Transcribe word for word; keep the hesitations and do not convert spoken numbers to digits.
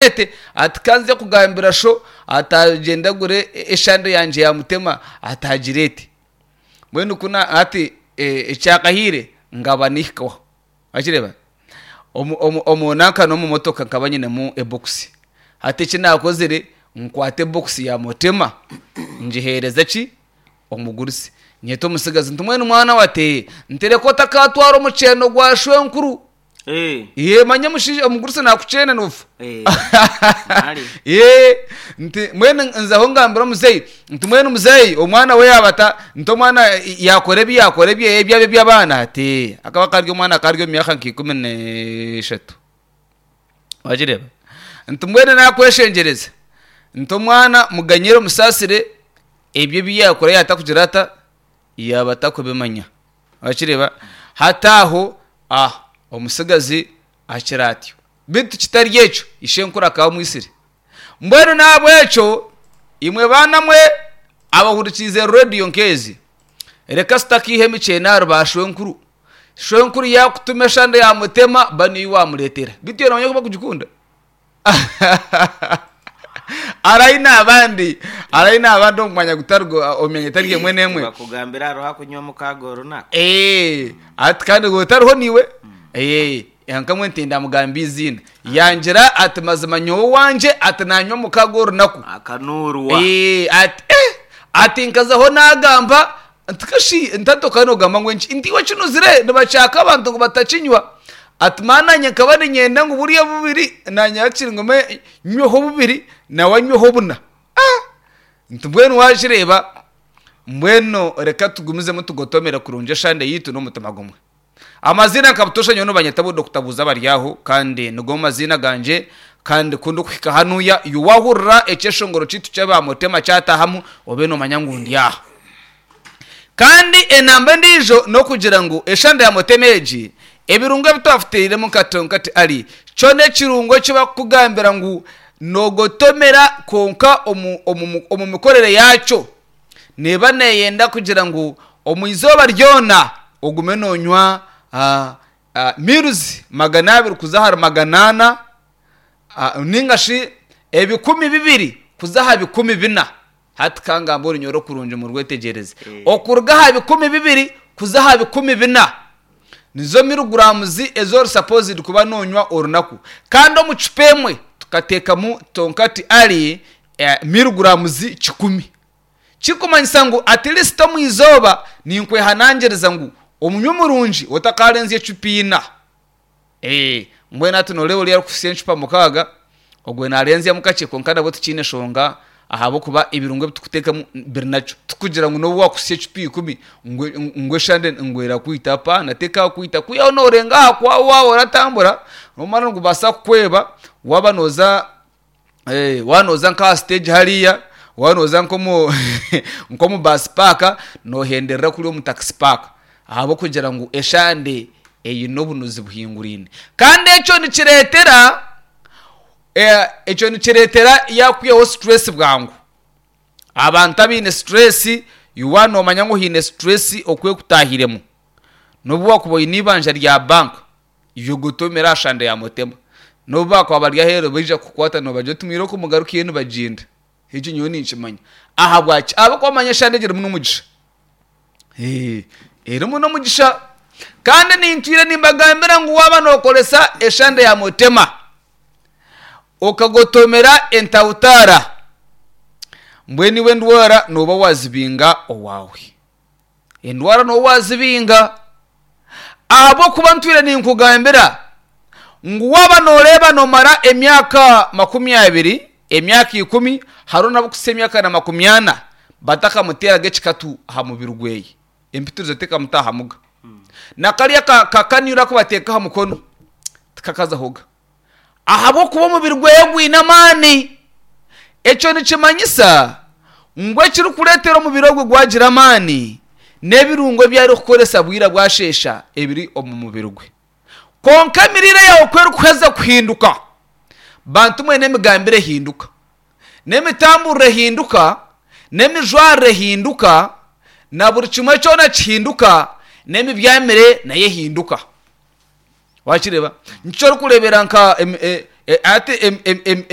Ate ati kanze kugambira sho atagenda agure eshande yangye yamutema atagira eti mbwenu kuna ati eh, ekyakahiire ngaba nihikaho wakireba omu omu omu nanka n'omu motoka nkaba nyinemu ebokisi. Hati eki naakozire, nkwata ebokisi ya mutema ngiheereza ki omugurusi. Nyeta omutsigazi nti mbwenu mwana we ati ntereka otakatwara omukyeno gwa shwenkuru. Eh, Ye manya omushaija omugurusi naakukyena noofa. eh, mali. Ye nti mbwenu nzaho ngambira omuzeeyi nti mbwenu muzeeyi omwana we yaaba ata nti omwana yaakora ebi yaakora ebye ebyaba eby'abaana ati akaba kari omwana kari omu myaka nka ikumi n'eshatu. Wagireeba? Nti mbwenu naakweshengyereza nti omwana muganyire omusaasire ebyo ebi yaakora yaatakugira ata yaaba atakubimanya. Wakireeba? Hati aho ah omutsigazi akira atyo. Beitu kitari ekyo ishenkuru akaba amwitsire. Mbwenu n'ahabw'ekyo imwe baana mwe abahurikiize rediyo nk'ezi, reka sitakiiha emikyene ahari ba shwenkuru. Shwenkuru yaakutuma eshande yaamutema ba niyo waamureetera. Beitu iwe noomanya oku barikugikunda? Hariho abandi hariho abandi omu mwanya gutari omu myanya etari emwe n'emwe. Bakugambira hariho akunywa mukaaga orunaku. Eh, ati kandi otariho niiwe. Eh, nkamwe nti ndamugamba eiziina. Yangira ati mazima nyowe owangye ati nanywa mukaaga orunaku. Akanuurwa. Eh, ati eh, ati nkazaho nagamba nti kashi nti okaba nogamba ngu enki nti iwe kinuzire nibakyaka abantu ngu batakinywa. Ati maana nanye nkaba niinyenda ngu buriya bubiri nanye hakiri ngume nyweho bubiri nawe anyweho buna. Ah! Nti mbwenu wakireeba mbwenu reka tugumizemu tugotomere kurungi eshande yaitu n'omutima gumwe. Amaziina nka butoosha nyowe nibanyeta bu Dokita Buuza Baryaho kandi nigo maziina gangye kandi ku ndikuhika hanuya iwe waahurira ekyeshongoro kyaitu ky'aba Mutema kyatahamu obe noomanya ngu ndi aha. Kandi enamba endiijo n'okugira ngu eshande ya Mutema egi ebirungo ebi twafutairemu nka Tonkati Ali kyona ekirungo eki barikukugambira ngu noogotomera kwonka omu, omu, omu mikorere yaakyo neeba neeyenda kugira ngu omu izooba ryona ogume noonywa ah, ah, mils magana abiri kuza ahari magana ana ah, ninga shi ebikumi bibiri kuza aha bikumi bina. Hati kangamba orunyoro kurungi murwetegyereze. Okuruga aha bikumi bibiri kuza aha bikumi bina nizo miliguraamuzi ezi ori supposed kuba noonywa orunaku. Kandi omu cupa emwe tukateekamu Tonkati Ali eh, miliguraamuzi kikumi. Kirikumanyisa ngu at least omu izooba ninkwehanangiriza ngu omunywi murungi otakaarenzya ecupa ina. Eh, mbwenu hati nooreeba oriya arikuhitsya encupa mukaaga ogwo naarenzyamu kakye kwonka nabwo tikiine nshonga ahabw'okuba ebirungo ebi turikuteekamu biri nakyo. Tikugira ngu n'obu waakuhitsya ecupa ikumi ngu ngu eshande ngu erakwita apaana tekakwita kwihaho noorenga aha kwawe waaba oratambura nomara nigubaasa kukweba waaba nooza eh, waaba nooza nk'aha stage hariya waaba nooza nk'omu nk'omu bus park noohenderera kuri omu taxi park ahabw'okugira ngu eshande eine obunuzi buhinguraine. Kandi ekyo nikireetera eh, ekyo nikireetera yaakwihaho stress bwangu. Abantu abaine stress iwe waaba noomanya ngu oine stress oku ekutaahiremu n'obu waakuba oine eibanja rya banka iwe gotomera aha shande ya Mutema. N'obu baakuba bari aheeru baija kukukwata noobagira oti mwire oku mugarukeyo nibagyenda. Ekyo nyowe ninkimanya. Ahabwaki? Ahabw'okuba omanya eshande egyo erimu n'omugisha. Eh, erimu n'omugisha. Kandi nintwire nimbagambira ngu waaba nookoresa eshande ya Mutema okagotomera entautaara mbwenu iwe endwara nooba waazibinga owaawe. Endwara nooba waazibinga ahabw'okuba ntwire ninkugambira ngu waaba nooreeba noomara emyaka makumi abiri, emyaka ikumi, hariho n'abarikuhitsya emyaka na makumi ana batakamuteeraga ekikatu aha mubiri gweye. Empitirizo tekamutaahamuga. Na kariya ka kakanira aku bateeka aha mukono tikakazahoga. Ahabw'okuba omubiri gweye gwine amaani. Ekyo nikimanyisa ngu ekirikureetera omubiri ogwo gwagira amaani n'ebirungo ebi arikukoresa bwira bwasheesha ebiri omu mubiri gwe. Kwonka emiriire yaawe ku erikuheza kuhinduka, bantu mwe n'emigambire ehinduka, n'emitamburire ehinduka, n'emijwarire ehinduka, na buri kimwe kyona kihinduka, n'emibyamire nayo ehinduka. Wakireeba? Nikyo orikureebera nka emi- e- e- ati em- em- em-